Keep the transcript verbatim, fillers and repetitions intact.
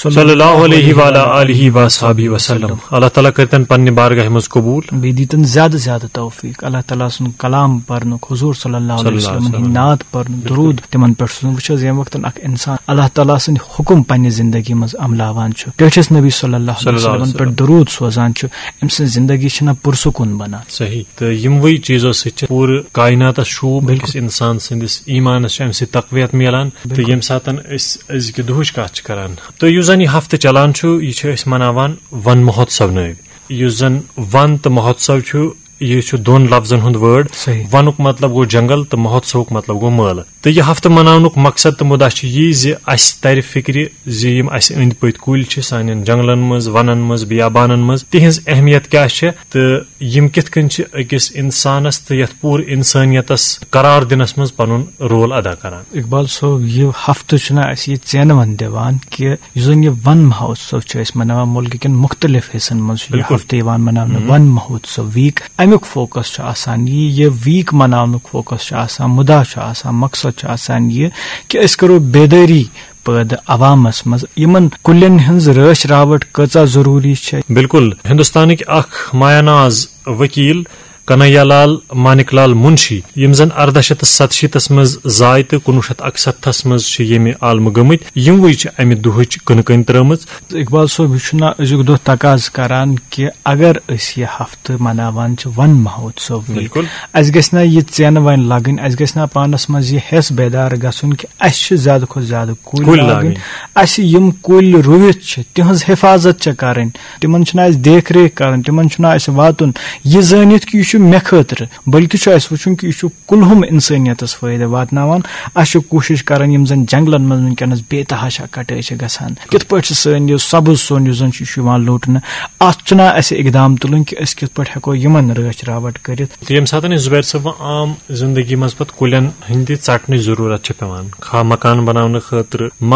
صلی اللہ علیہ وعلی آلہ وصحبہ وسلم۔ اللہ تعالیٰ کٔرتن پننہِ بارگاہہِ منٛز قبول۔ بیٚیہِ دیٖتن زیادٕ زیادٕ توفیٖق۔ اللہ تعالیٰ سُنٛد کلام پرنُک، حضور صلی اللہ علیہ صلی اللہ علیہ وسلم ہٕنٛدۍ وسلم۔ نعت پرنُک، درود تِمن پٮ۪ٹھ سوزُن۔ وٕچھ حظ، ییٚمہِ وقتن اکھ انسان اللہ تعالیٰ سٕنٛدِ حُکم پننہِ زندگی منٛز عملاوان چھُ، ٹٲٹھِس نبی صلی اللہ علیہ صلی اللہ علیہ وسلمن پٮ۪ٹھ وسلم۔ درود سوزان چھُ، أمۍ سٕنٛز زندگی چھِنہ پُرسکوٗن بنان۔ صحیح۔ تہٕ یِموٕے چیٖزو سۭتۍ چھِ پوٗرٕ کایناتس شوٗب، بِلکُل۔ أکِس انسان سٕنٛدِس ایٖمانس چھُ اَمہِ سۭتۍ تقویت میلان۔ تہٕ بِلکُل۔ ییٚمہِ ساتن أسۍ أزکہِ دُہٕچ کتھ چھِ کران، تہٕ یُس زن یہِ ہفتہٕ چلان چھُ، یہِ چھِ أسۍ مناوان ون مہوتسو نٲوۍ۔ یُس زن ون تہٕ مہوتسو چھُ، یہِ چھُ دۄن لفظن ہُنٛد وٲڈ۔ صحیح۔ ونُک مطلب گوٚو جنگل تہٕ مہوتسوُک مطلب گوٚو مٲلہٕ۔ تہٕ یہِ ہفتہٕ مناونُک مقصد تہٕ مُدعا چھُ یی زِ اسہِ ترِ فکرِ زِ یِم اسہِ أنٛدۍ پٔتۍ کُلۍ چھِ سانٮ۪ن جنگلن منٛز، ونن منٛز، بیابانن منٛز، تِہنٛز اہمیت کیٛاہ چھےٚ تہٕ یِم کِتھ کٔنۍ چھِ أکِس انسانس تہٕ یتھ پوٗرٕ انسٲنیتس قرار دِنس منٛز پنُن رول ادا کران۔ اقبال صٲب، یہِ ہفتہٕ چھُنہ اَسہِ یہِ ژینوَن دِوان کہِ یُس زَن یہِ ون مہوتسو چھُ أسۍ مناوان، مُلکہٕ کٮ۪ن مُختٔلِف حصن منٛز چھُ یہِ بِلکُل۔ ہفتہٕ یِوان مناونہٕ، ون مہوتسو ویٖک۔ اَمیُک فوکس چھُ آسان یہِ، یہِ ویٖک مناونُک فوکس چھُ آسان، مُدا چھُ آسان، مقصد چھُ آسان یہِ کہِ أسۍ کرو بیدٲری پٲدٕ عوامس منٛز، یِمن کُلٮ۪ن ہٕنٛز رٲچھ راوٹھ کۭژاہ ضروٗری چھےٚ۔ بِلکُل، ہندوستانٕکۍ اکھ مایا ناز وکیل کنہیا لال مانک لال منشی، یِم زن اردہ شیتھ تہٕ ستشیٖتس منٛز زاے تہٕ کُنوُہ شیتھ اکستھس منٛز چھِ ییٚمہِ عالمہٕ گٔمٕتۍ، یِموٕے چھِ امہِ دُہٕچ کٕنہٕ کٔنۍ ترٲومٕژ۔ اقبال صٲب، یہِ چھُنہ أزیُک دۄہ تقاضہٕ کران کہِ اگر أسۍ یہِ ہفتہٕ مناوان چھِ ون مہوتسو ویٖک، بِلکُل۔ اَسہِ گژھِ نہ یہِ ژینہٕ وۄنۍ لگٕنۍ، اَسہِ گژھِ نہ پانس منٛز یہِ حٮ۪س بیدار گژھُن کہِ اَسہِ چھِ زیادٕ کھۄتہٕ زیادٕ کُلۍ کُلۍ لاگٕنۍ۔ لاگٕنۍ۔ اَسہِ یِم کُلۍ رُوِتھ چھِ، تِہنٛز حفاظت چھےٚ کرٕنۍ، تِمن چھُنہ اَسہِ دیکھ ریکھ کرٕنۍ، تِمن چھُنہ اَسہِ واتُن یہِ زٲنِتھ کہِ یہِ چھُ مےٚ خٲطرٕ، بلکہِ چھُ اَسہِ وٕچھُن کہِ یہِ چھُ کُلہُم انسٲنیتس فٲیدٕ واتناوان۔ اَسہِ چھِ کوٗشش کران یِم زن جنگلن منٛز وٕنکیٚنس بے تحاشا کٹٲے چھِ گژھان، کِتھ پٲٹھۍ چھِ سٲنۍ یہِ سبز سون یُس زن چھُ، یہِ چھُ یِوان لوٗٹنہٕ۔ اتھ چھُنہ اَسہِ اقدام تُلُن کہِ أسۍ کِتھ پٲٹھۍ ہٮ۪کو یِمن رٲچھ راوٹھ کٔرِتھ۔ تہٕ ییٚمہِ ساتہٕ أسۍ زُبیر صٲب عام زندگی منٛز پتہٕ کُلٮ۪ن ہٕنٛدِ ژٹنٕچ ضروٗرت چھِ پٮ۪وان، خواہ مکان بناونہٕ خٲطرٕ، مگر